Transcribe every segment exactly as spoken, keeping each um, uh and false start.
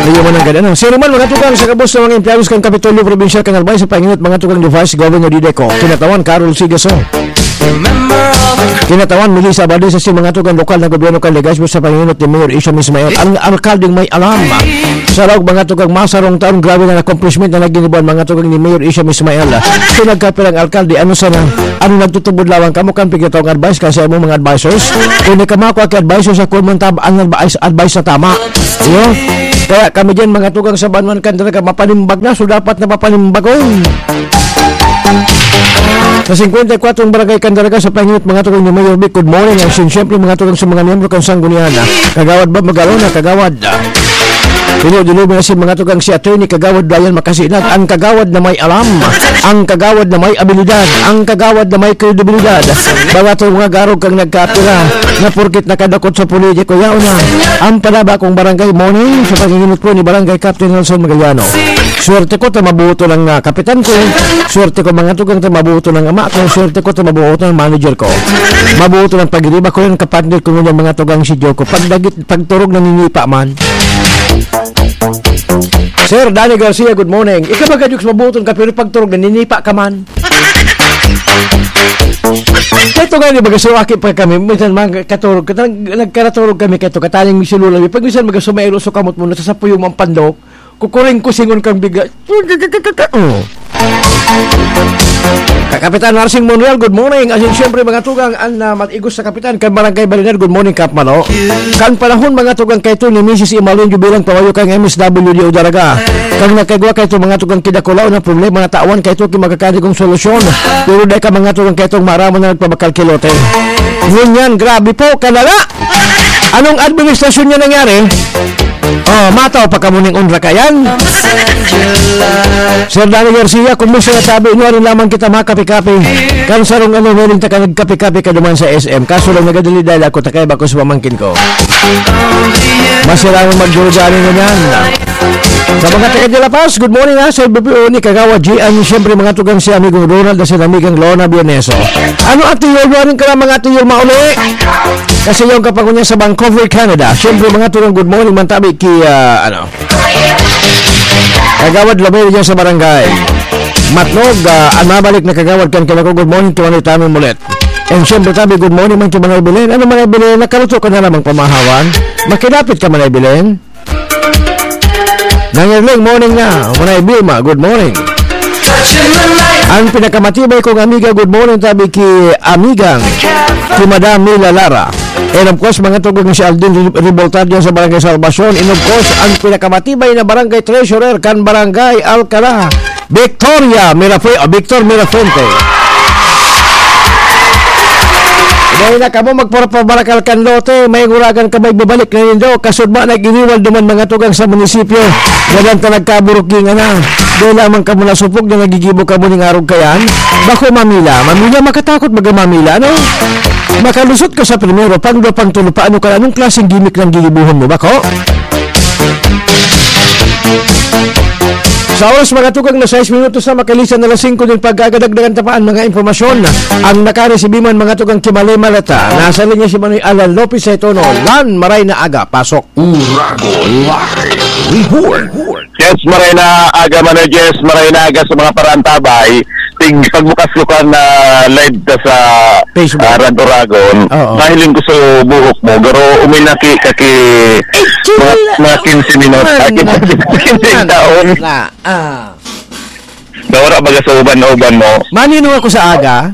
Iyo man ang ganda, no? Sino man mga tugang sa gabos na mga empleyado kan Kapitolyo Probinsyal kan Albay sa panginot mga tugang ni Vice Governor Dideco, kinatawan Carol Sigaso. Kinatawan Melissa Abadesa si mga tugang lokal na gobyerno kan Legazpi sa panginot ni Mayor Isham Ismail, ang alkaldeng may alam. Sa laog mga tugang masarong taon, grabe na accomplishment na naginibuan mga tugang ni Mayor Isham Ismail. Kung nagkapirang alkalde, ano sana? Ano nagtutubod lawang kamo kan pigitong advice kasi among mga advisors? Kung di ka makwa ki advisors, ako man tab-, ang advice, advice na tama. Iyo. Kaya kami diyan, mga tugang sa Banwan Candelaga, mapanimbag na, so dapat na papanimbagon. Sa singkwenta y kwatro barangay Candelaga sa panginot, mga tugang ni Mayor Vic, good morning. Ang sin-, siyempre, mga tugang sa mga miyembro kan Sanggunian, ah, Kagawad Bob Magalona, Kagawad, ah, Pino Dilubi na si mga tugang si Attorney Kagawad Brian Makasinag, ang kagawad na may alam, ang kagawad na may abilidad, ang kagawad na may kredibilidad. Barato mga garog kang nagkapira na porkit nakadakot sa politiko, yaon na. Ang panaba kong barangay, morning, sa panginginot ko ni Barangay Captain Nelson Magaliano. Swerte ko ta mabuto ng, ah, kapitan ko. Swerte ko mga tugang ta mabuto ng ama ko. Swerte ko ta mabuto ng manager ko. Mabuto ng pagiriba ko ng kapartner ko ngunyan mga tugang si Joko. Pagdagit, pagturog naninipa man. Sir Danny Garcia, good morning. Ikaw ba, Gadyuks, mabuto ng kapiro pagturog naninipa ka man? Kaya ito nga, di ba, kasi aki pa kami, minsan mga katurog, katang, nagkaraturog kami kaya ito, kataning misululaw. Pag minsan magasumayro, so kamot mo, nasasapuyo mo ang pandok, kukuring kusingon kang bigla. Oh. Ka-, Kapitan Narsing Monreal, good morning. Asin siyempre, mga tugang, ang, ah, matigos sa kapitan, kan Barangay Baliner, good morning, Kap Malo. Kan panahon, mga tugang, kay ito ni Misis Imalin Jubilang Pawayo kang M S W D o Daraga. Kang nagkagwa kay ito, mga tugang, kidakulaw na problema na tawan kay ito, ki magkakadigong solusyon. Pero dahil ka, mga tugang, kay itong marama na nagpabakal kilote. Ngunyan, grabe po, kalala! Anong administrasyon niya nangyari? Oh, mataw pa kamo ning unra kayan. Sir Danny Garcia, kumusta na tabi? Inuwarin lamang kita makape-kape. Kan sarong ano, meron ta ka nagkape-kape ka duman sa S M. Kaso lang nagadali dahil ako takay bako sa pamangkin ko. Masira mo magdurugani na niyan. Sa mga taga de La Paz, good morning ha, sa B P O ni Kagawa G. Ang siyempre mga tugang si amigong Ronald at si amigang Lorna Bierneso. Ano at iwawarin ka lang mga tuyol mauli? Kasi yung kapangunya sa Vancouver, Canada. Siyempre mga tugang, good morning, mantabi ki, ah, ano, Kagawad Lomel dyan sa barangay Matnog, ah, ang mabalik na kagawad kan kinako, good morning, kimanay tamin mulit. And siyempre, tabi, good morning man ki Manay Belen. Ano, Manay Belen, nakaluto ka na namang pamahawan? Makilapit ka, Manay Belen? Nangerling, morning na. Manay Vilma, good morning. Ang pinakamatibay kong amiga, good morning, tabi ki amigang, ki Madam Mila Lara. And of course, mga tugang si Aldin Re-, Revoltadio sa Barangay Salvacion. And of course, ang pinakamatibay na barangay treasurer kan Barangay Alcala, Victoria Mirafuente, o Victor Mirafuente. Dahil na kamo magparapabarakal kan lote, may nguragan ka may bibalik na nindo, kasudma na giniwal duman mga tugang sa munisipyo. Walang ka nagkaburukingan na. Dahil lamang kamo nasupog na nagigibo kamo ning arog kayan. Bako mamila, mamila makatakot baga mamila, ano? Makalusot ka sa primero, pangdua, pangtulo, paano ka, anong klaseng gimmick ng gigibuhon mo, bako? Sa oras, mga tugang, na sais minutos na makalisan na alas singko din pagkagadagdagan tapaan mga impormasyon. Ang nakaresibi man, mga tugang, Kimale Maleta. Nasa linya si Manoy Alan Lopez sa itono. Lan, maray na aga, pasok. Uragon Live Report. Yes, maray na aga, Manoy Jess, maray na aga sa mga parantabay. Tig-, pagbukas ko kan, ah, live ta sa, Facebook. Ah, Rad Oragon. Oo. Mahiling ko sa buhok mo, garo uminaki ka ki Eh, chill mga, lang mga quinze minutes. man. Aki, quinze taon. Na, ah. Nawara baga sa uban-uban mo. Maninong ako sa aga?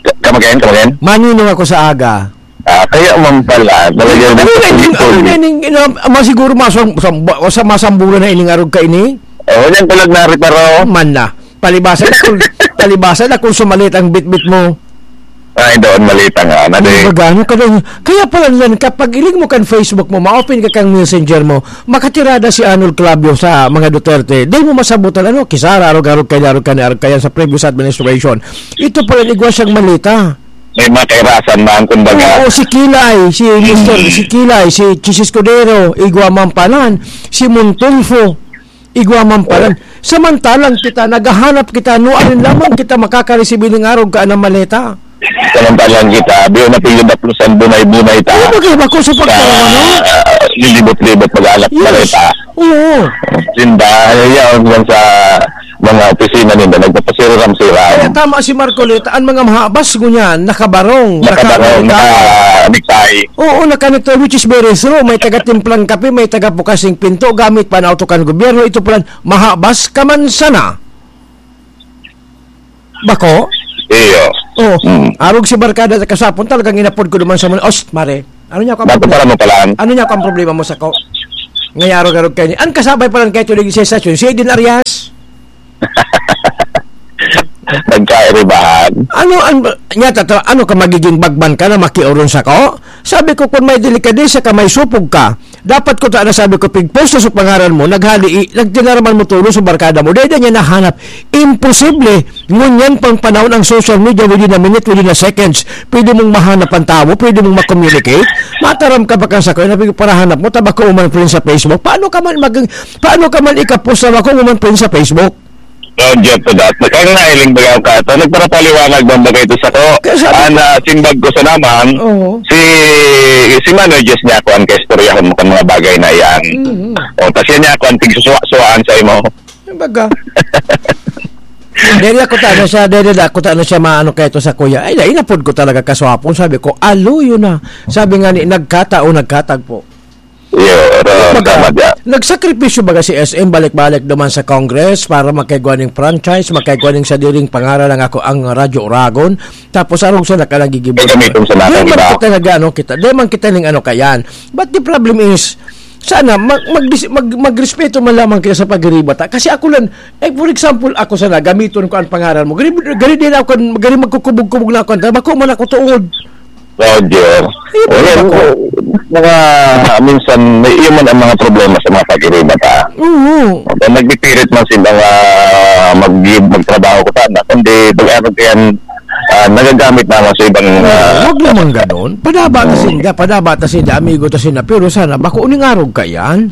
Ka-, come again, come again? Maninong ako sa aga? Ah, kaya man pala, talaga Ano na ining, ano na ining, ina-, ama siguro masam-, sam-, sa masambulan na ining arog ka ini? Oh, yan talaga na reparo. Man na. Palibasa na kung, palibasa na kung sumalit ang bitbit mo. Ay, doon malita nga, na Ay, di. Magano ka doon? Kaya pala, Lan, kapag iling mo kan Facebook mo, ma-open ka kang Messenger mo, makatirada si Arnold Claudio sa mga Duterte. Di mo masabutan, ano, kisara, arog-arog kaya, arog kaya, arog kaya sa previous administration. Ito pala, igwa siyang malita. May mga kairasan man, kumbaga. Oo, si Kilay, si Mister, si Kilay, si Chiz Escudero, igwa man palan, si Montulfo, igwa man palan. Samantalang kita, naghahanap kita, nuarin lamang kita makakaresibi ning arog ka na maleta. Samantalang kita, biyo na piyo daplusan, bunay-bunay ta. Ano ba kayo ba ko sa pagkaroon, ano? Ah, Lilibot-libot, mag-anak Yes. balita. Oo. Sinda, yaon yan sa mga opisina ninda, nagpapasiram-siram. Kaya tama si Marcoleta, ang mga mahabas ngunyan, nakabarong, Nakabarong, naka-necktie. naka-necktie. Oo, naka-necktie, which is very true. May taga-timplang kape, may taga-bukas ng pinto, gamit pa na auto kan gobyerno. Ito pala, mahabas ka man sana. Bako? Iyo. Oh, Mm. arog si Barkada sa kasapon, talagang inapod ko duman sa mga, "Ost, mare, ano niya ako ang Bago problema? para mo palan. Ano niya ako ang problema mo sa ko?" Ngayarog-arog kayo ni, an kasabay pa lang kayo tuloy sa estasyon, si Eden Arias. Nagkairibahan. Ano, an, niya, tatra, ano ka, magiging bagman ka na makiuron sa ko? Sabi ko, "Kung may delikadesa ka, may supog ka." Dapat ko ta na sabi ko, "Pigpost na sa pangaran mo, naghali, i-, nagtinaraman mo tulo sa barkada mo." Dahil niya nahanap, imposible. Ngunyan pang panahon ang social media, within a minute, within a seconds, pwede mong mahanap ang tao, pwede mong ma-communicate. Mataram ka ba kang sa kuya, nabig parahanap mo, tabako man friend sa Facebook. Paano ka man mag-, paano ka man ikapost na ako man friend sa Facebook? Roger to that. Kaya nga, iling baga ka ito. Nagparapaliwanag bang bagay ito sa ko? Kaya sabi Ang ko ah, simbag ko sa naman, Oo. si, si Manoy Diyos niya ako ang kaistoryahon mo kang mga bagay na iyan. Mm. O, kasi niya ako ang tigsusuwa-suwaan sa imo. Kumbaga. Dere ako ta, ano siya, dere da, ako ta, ano siya, maano kaya ito sa kuya. Ay, inapod ko talaga kaswapon. Sabi ko, "Alo, yun na." Sabi nga ni, "Nagkatao, nagkatagpo." Iyo, ro, Baga, tama dyan. nagsakripisyo baga si S M balik-balik duman sa Congress para makaigwa ning franchise, makaigwa ning sadiring pangaran ang ako, ang Radyo Oragon. Tapos arog sa nakalang gigibo Gagamitin sa natin, Di man iba. kita nag-ano kita, di man kita ning ano kayan. But the problem is, sana mag, mag, mag, magrespeto man lamang kita sa pagiriba ta. Kasi ako lang, eh, for example, ako sana, gamiton ko ang pangaran mo. Gari, gari din ako, gari magkukubog-kubog na ako, bako man ako tuod. Roger. Ayun, Ayan, ako. mga minsan, may iyon man ang mga problema sa mga pag-iba ta. Oo. Kaya nagpipilit man sila nga mag-, magtrabaho ko sana, kundi pag-arog yan, ah, nagagamit naman sa ibang, Oo, ah, wag naman ganon. Padaba ta Oo. sinda, padaba ta sinda, amigo ta sinda. Pero sana, bako uning arog ka yan.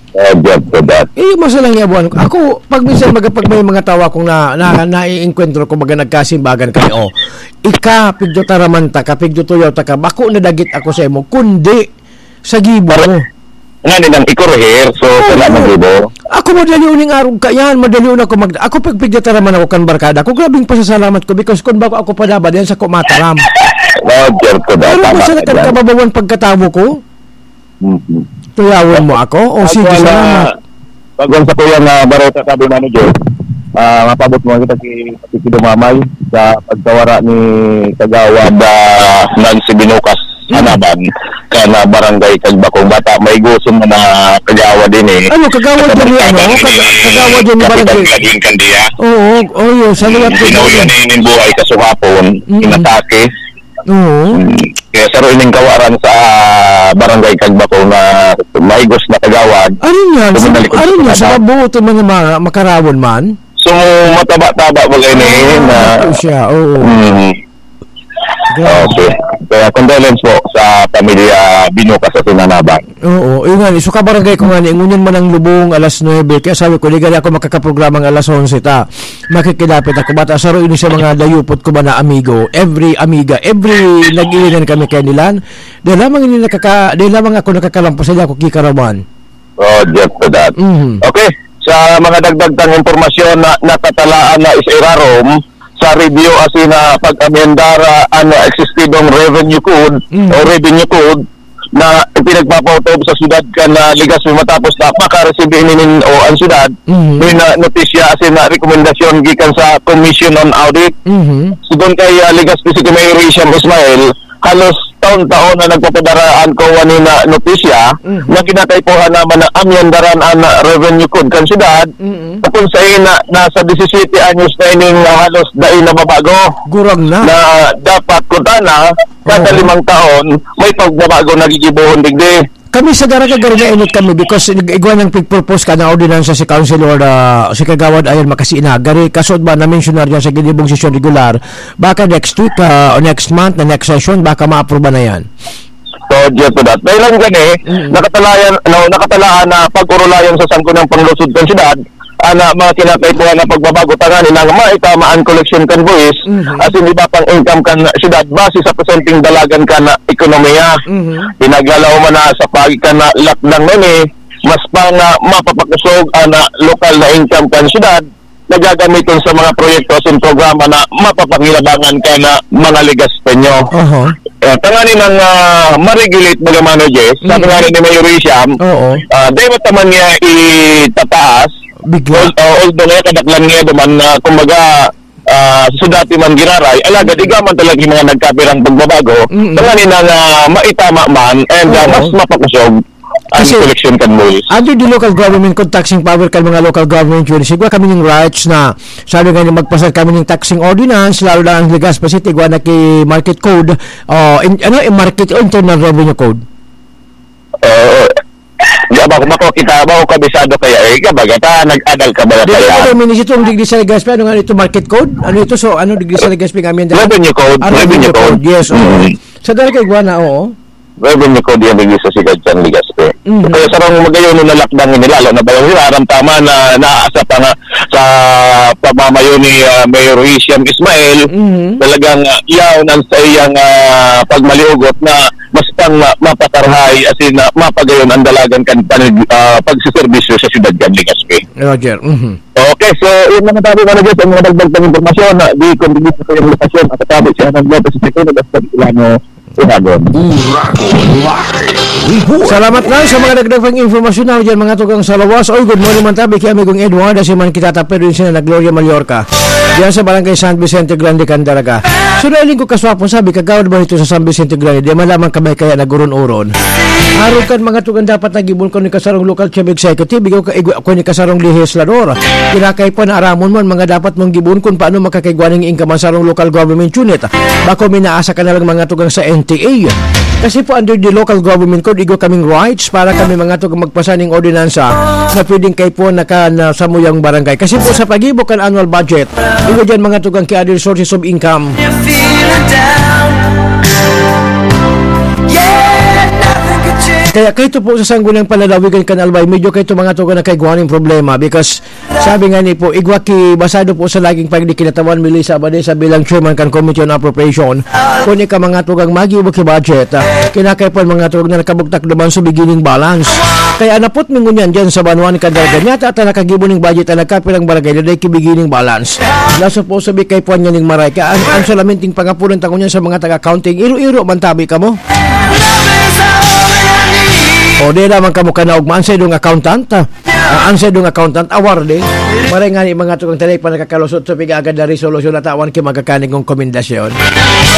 Oh, Jeff, for that. Eh, yung masalang yabuan ko. Ako, pag minsan, mag-, pag may mga tao akong na, na, naiengkwentro ko, baga nagkasimbagan kami, oh, ika, pigdo taraman ta ka, pigdo tuyaw ta ka, bako nadagit ako sa imo, kundi sa gibo mo. Nga nilang ikurihir, so, Oo. wala magibo. Ako, madali uning arog ka yan, madali un ako mag-, ako, pag pigdo taraman ako kan barkada ko, grabing pasasalamat ko, because kung bako ako padaba, diyan sa kumataram. Oh, Jeff, for that. Pero Tama masakit ka ang dyan. kababawan pagkatawo ko. Mhm. Tuyawon mo ako? O, Bago sige, na, salamat. bago sa kuya nga bareta, sabi, manager, ah, mapabot mo kita si Patricio Dumamay sa pagkawara ni Kagawad, ah, Nancy Binukas, Mm. Hanaban, ka na barangay Kagbakong Bata. May gusto mo na kagawad din eh. Ano, kagawad Sa din ni, ano? barkada ni Kaga-, kagawad din ni Kapitan barangay. Gladwin Candia. Oo, oo, yun. Sa liwat ko Binuya din. na yun yung buhay, kasukapon, Mm. inatake. Oo. Hmm. Kaya saro ining kawaran sa barangay Kagbako na maigos na kagawad. Ano niya? Sa, Tumunalik ko ano sa niya? Sa bata. mabuo to mga ma-, makarawon man? So, mataba-taba bagay ni Ah, na ito siya, oo. Hmm. Grabe. Okay. Kaya condolence po sa pamilya Binuka sa Sinanaban. Oo, yun nga, so kabarangay ko nga ni, ngunyan man ang lubong, alas nuebe, kaya sabi ko, "Di gani ako makakaprogramang alas onse ta. Makikidapit ako." Bata, saro ini sa mga dayupot ko ba na amigo, every amiga, every nag-iinan kami kay nilan. Dahil lamang ini nakaka-, dahil lamang ako nakakalampas, dahil ako kikarawan. Oh, Jeff, for that. Mhm. Okay, sa mga dagdag tang impormasyon na nakatalaan na is irarom, sa review asin na pag-amendar an existidong revenue code Mm. o revenue code na pinagpapautob sa syudad kan, ah, Legazpi matapos na makaresibi nin o ang syudad Mm. nin, ah, notisya asin na rekomendasyon gikan sa Commission on Audit. Mhm. Sigon kay, ah, Legazpi City Mayor Risham Ismail, halos taon-taon na nagpapadara an kawa nin, ah, notisya Mhm. na kinakaipuhan naman na amyendaran an, ah, revenue code kan syudad. Mhm. Kung sa ina, nasa disisiyete anyos na ining, ah, halos dai nababago. Gurang na. Na dapat kutana, kada Oo. limang taon, may pagbabago na gigibohon digdi. Kami sa Daraga, garo na inot kami because ig-, igwa nang pig-propose ka na ordinansa si Councilor, ah, si Kagawad Ayon Makasiinag. Gari, kasod ba na-mensionar niya sa ginibong sesyon regular? Baka next week, ah, o next month, na next session, baka maaproba na yan. So, due to that. Dahil lang gani, Mm. nakatalayan, no, nakatalaan na pag-urulayan sa Sangguniang Panlungsod kan Syudad, ana, mga kinakaipuhan na pagbabago tanganing maitama an koleksyon kan buhis, Mhm. asin iba pang income kan syudad base sa presenteng dalagan kan ekonomiya. Mhm. Pinaglalaom man na sa pagi kan, ah, lakdang na ini, mas pa nga mapapakosog an, ah, lokal na income kan syudad na gagamiton sa mga proyekto asin programa na mapapakinabangan kan, ah, mga Legaspeño. Aha. Eh, tanganing, ah, ma-regulate baga man, Jess. Sabi Mm. nga ni Mayor Risham, Oo. ah, dai mo ta man niya itataas. Bigla. Al-, ah, although nga kadaklan niya duman na, kumbaga, ah, sa dati man giraray, alagad Mm. igwa man talaga yung mga nagkapirang pagbabago, Mm. tanganing, ah, maitama man and, ah, Oo. mas mapakosog ang Kasi, koleksyon kan buhis. Under the local government code, taxing power kan mga local government units, igwa kami ning rights na, sabi nga niya, magpasar kami ning taxing ordinance, lalo na ang Legazpi City, igwa na ki market code, o, in-, ano, in market o internal revenue code? Oo. Di ba, kung ako kita, ba ako kabisado kaya, eh, kabaga, ta, nag-adal ka ba na Di ba, kaya? Pero minisito ang digdi sa Legazpi, ano nga ito, market code? Ano ito? So, ano digdi sa Legazpi nga, Amanda? Revenue code, Ah, revenue revenue code. code, yes, oo. Mm. Sa dalaga, igwa na, oo. Revenue code yan, digdi sa Sigad San Legazpi. Mhm. Kaya sarong magayon na lakdang nila, lalo na ba yung aram tama na naasa pa nga sa pamamayo ni, ah, Mayor Hisham Ismail, Mhm. talagang, ah, yaon ang sa iyang, ah, pagmaliugot na mas pang, ah, mapatarhay, as in, ah, mapagayon ang dalagan kan panig-, ah, pagsiservisyo sa siyudad kan Legazpi. Roger, mhm. Okay, so, yun naman tayo, mga guys, ang mga dagdag pang impormasyon, ah, di kung hindi sa kayong lokasyon, at tabi siya ng Lopez Secretary, basta Ilano, Uragon. Uragon Live Report. Salamat lang sa mga dagdag pang impormasyon na dyan, mga tugang sa lawas. Oy, good morning man tabi kay Amigong Edward, asi man kita tapos rin sila na Gloria Mallorca. Diyan sa Barangay San Vicente Grande, Candaraga. So, nailing ko kaswapon, sabi, kagawad ba nito sa San Vicente Grande? Di man lamang kamay kaya nag-uron-uron. Arog kan mga tugang dapat nag-ibon ko ni kasarong local chief executive, ikaw ka, igwa ko ni kasarong legislador. Kinakay pa na aramon man, mga dapat mong gibon kung paano makakaigwa ng income ang sarong local government unit. Bako minaasa ka na lang mga tugang sa N T A. Kasi po under the local government code, igwa kaming rights para kami mga tugang magpasa ning ordinansa na pwedeng kay po naka, na sa muyang barangay. Kasi po sa pag-ibo kan annual budget, igwa dyan mga tugang kay other sources of income. Kaya kaito po sa sanggunang panlalawigan kan Albay, medyo kaito mga tugang na kaigwaning problema because sabi nga ni po, igwa ki basado po sa laging pagdikinatawan, Melissa Abadesa bilang chairman kan Committee on Appropriation. Kung ika mga tugang magibo ki budget, ah, kinakaipuhan mga tugang na nakabugtak duman sa beginning balance. Kaya napot mi ngunyan dyan sa banwa ni Candaraga. Nyata ata nakagibo ning budget ang nagkapirang barangay na dai ki beginning balance. Na supposed to be kaipuhan niya ning maray. Kaya ang, ang salaminting pangapunan ta ngunyan sa mga taga-accounting, iro-iro man tabi kamo. O di naman kamo kanaog man sa idong accountant, ah. Ah, ang sa idong accountant, awar di. Maray nga ni mga tugang tanay pa nakakalusot sa piga agad na resolusyon na tawan ki magkakaning kong komendasyon.